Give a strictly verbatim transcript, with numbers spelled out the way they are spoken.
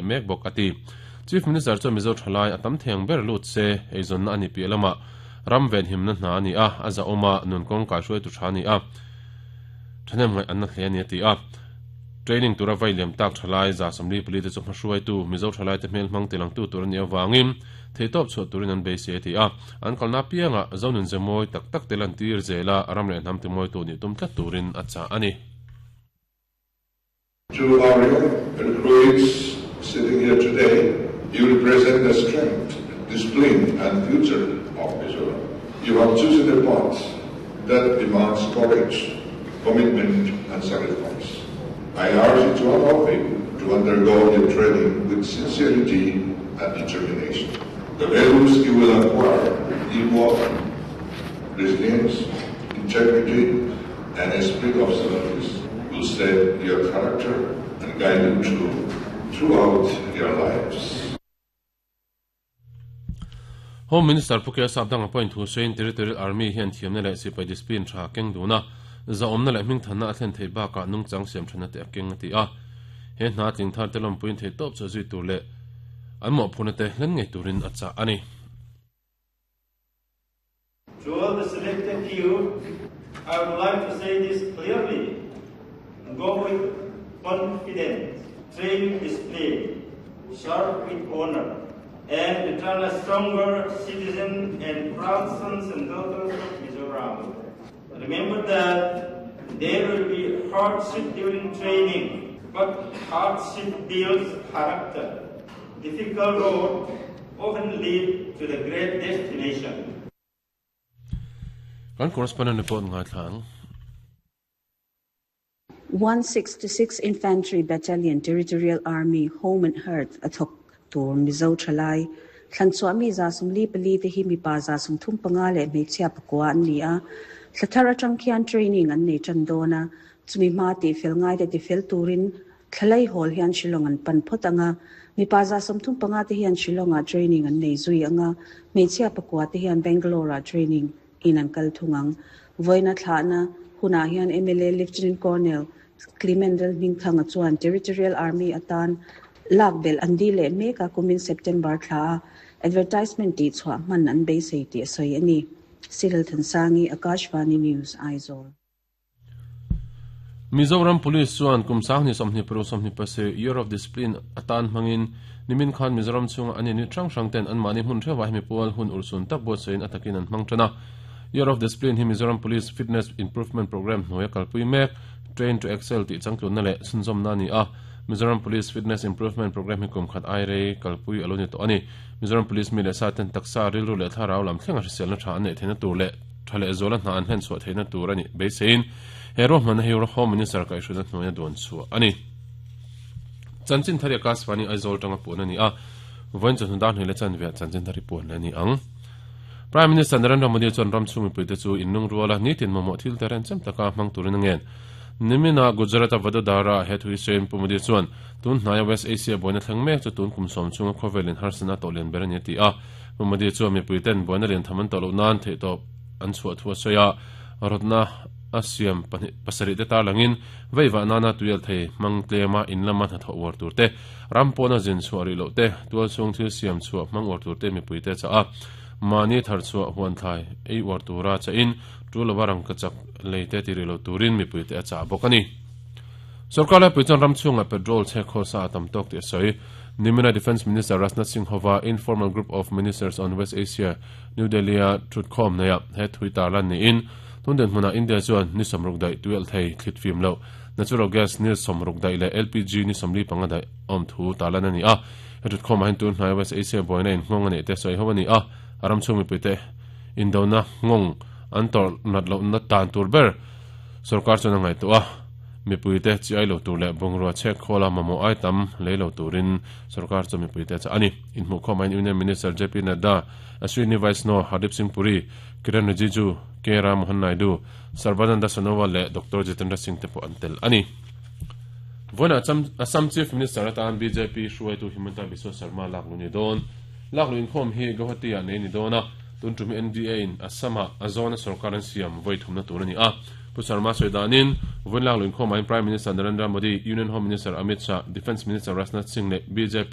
Mek bawk ati Chief Minister chu Mizo thalai atam theng ber lut se eizon na ani pi lama ram ven himna hna ani a aza oma nun kong ka hruai tu tha ni a thanem ngai an na hle ani ti a training tura vai liam tak thalai za samli pali te chu hruai tu Mizo thalai te hmel hmang tilang tu tur ani awangin theitop chu turin an be se ti a an kalna pianga zonun zemoi tak tak telan tir zela ram le nam te moi tu ni tum tlat turin acha ani. To our young recruits sitting here today, you represent the strength, discipline and future of Mizoram. You have chosen a path that demands courage, commitment and sacrifice. I urge each one of you to undergo your training with sincerity and determination. The values you will acquire, teamwork, resilience, integrity, and a spirit of service will set your character and guide you through, throughout your lives. Home Minister Pukia Sabdang appoint thu sein Territorial Army hian thiamna leh sipai discipline tha keng duna za omna leh hming thanna a thlen thei baka nungchang siam thana te akeng ati a he hna tling thar te lom puin thei top chu zui tur le an mo phuna te hlen ngei turin acha ani. To all the selected few, I would like to say this clearly. Go with confidence, train with discipline, serve with honor, and return a stronger citizen and proud sons and daughters of Mizoram. Remember that there will be hardship during training, but hardship builds character. Difficult road often lead to the great destination. Kan correspondent report ngai thlang. one sixty-six Infantry Battalion Territorial Army Home and Hearth athok tur Mizo thalai thlanchua mi za sumli pali te hi mi pa za sum thum panga le hmeichhia pakua an ni a thlathar atang khian training an nei tan dona chumi ma ti fel ngai te ti fel turin thalai hol hian Shillong an pan phot anga mi pa za sum thum panga te hian Shillonga training an nei zui anga hmeichhia pakua te hian Bangalore training in an kal thungang voina thlana huna hian M L A Lieutenant Colonel Clement Hmingthanga chuan Territorial Army atan lakbel andi le meka kumin September thla advertisement ti chhuah man an beisei ti soi ani. Cyril Thansangi, Akashvani News, Aizawl. Mizoram Police chuan kum sangni somni pro somni pase Year of Discipline atan mangin nimin khan Mizoram chunga ani ni thang thang ten an mani hun thewa mi pol hun ursun tak bo sein atakin an hmang thana. Year of Discipline hi Mizoram Police Fitness Improvement Program hnuaia kalpui mek Train to Excel ti changtlun na le sunzawm na ni a. Mizoram Police Fitness Improvement Program hi kum khat ai rei kalpui alo ni to ani. Mizoram Police mi le sa ten taksa rilru le thlarau lam thlenga hrisel na tha an nei theina tur le thale zola hna an hlen chhuah theina tur ani beisein hero hman hi Home Minister kai hruina hnuaia duan chu ani. Chanchin thari Akashvani Aizawl tanga pun ani a voin chu hnudan hile chan ve chanchin thari pun ani ang. Prime Minister Narendra Modi chuan ram chungi puite chu innung ruala nitin momo thil teren chem taka hmang turin angen. Nimina Gujarat Vadodara het hui sein Pumudi chuan tun hnaya West Asia boina thleng mek chu tun kum som chunga khawvelin harsana tawhlian ber ani ti a. Pumudi chuan mipuiten boina lian tham an tawh loh nan theih tawp an chhuah thu a sawi a rawtna a siam pasarih te tarlangin veiva nana tuial thei hmang tlema in lama hnathawh uar tur te ram pawna zin chhuah rih loh te tual chhung thil siam chhuah hmang uar tur te mipuite cha a mani thar chhuah huan thlai ei uar tura cha in tu lawarang ka chak leite ti rilo turin mipuite a cha bawk ani. Sarkar lai puichuan ram chhunga petrol che khawsa tam tawk ti a sawi. Nimina Defence Minister Rajnath Singh hova Informal Group of Ministers on West Asia New Delhi a thutkhawm neia he thui tarlan niin tunden hmuna India chuan ni samruk dai tuel thei thlit fim lo natural gas ni samruk dai le L P G ni samli panga dai awm thu tarlan ani a. He thutkhawm ah hian tun hnai West Asia boina in nghawng ani te sawi ho ani a ram chhung mipuite indona nghawng an tor nat lo na tan tur ber sarkar chuan a ngai tu a mipuite chi ai lo tur le bungrua chek khola mamo ai tam lei lo turin sarkar chu mipuite cha ani. In hmu khawm in Union Minister J P Nadda, Ashwini Vaishnaw, Hardeep Singh Puri, Kiran Rijiju, K Ram Mohan Naidu, Sarbananda Sonowal le Doctor Jitendra Singh te pawh an tel ani. Voina Assam Chief Minister atan B J P hruaitu Himanta Biswa Sarma lak lu ni dawn lak lu inkhawm hi Guwahati ah nei ni dawn a tun tum N D A in Assam ah azawna sarkar an siam voi thumna tur ani a. Pu Sarma sawidanin voin lak lu inkhawm ah Prime Minister Narendra Modi, Union Home Minister Amit Shah, Defence Minister Rajnath Singh le B J P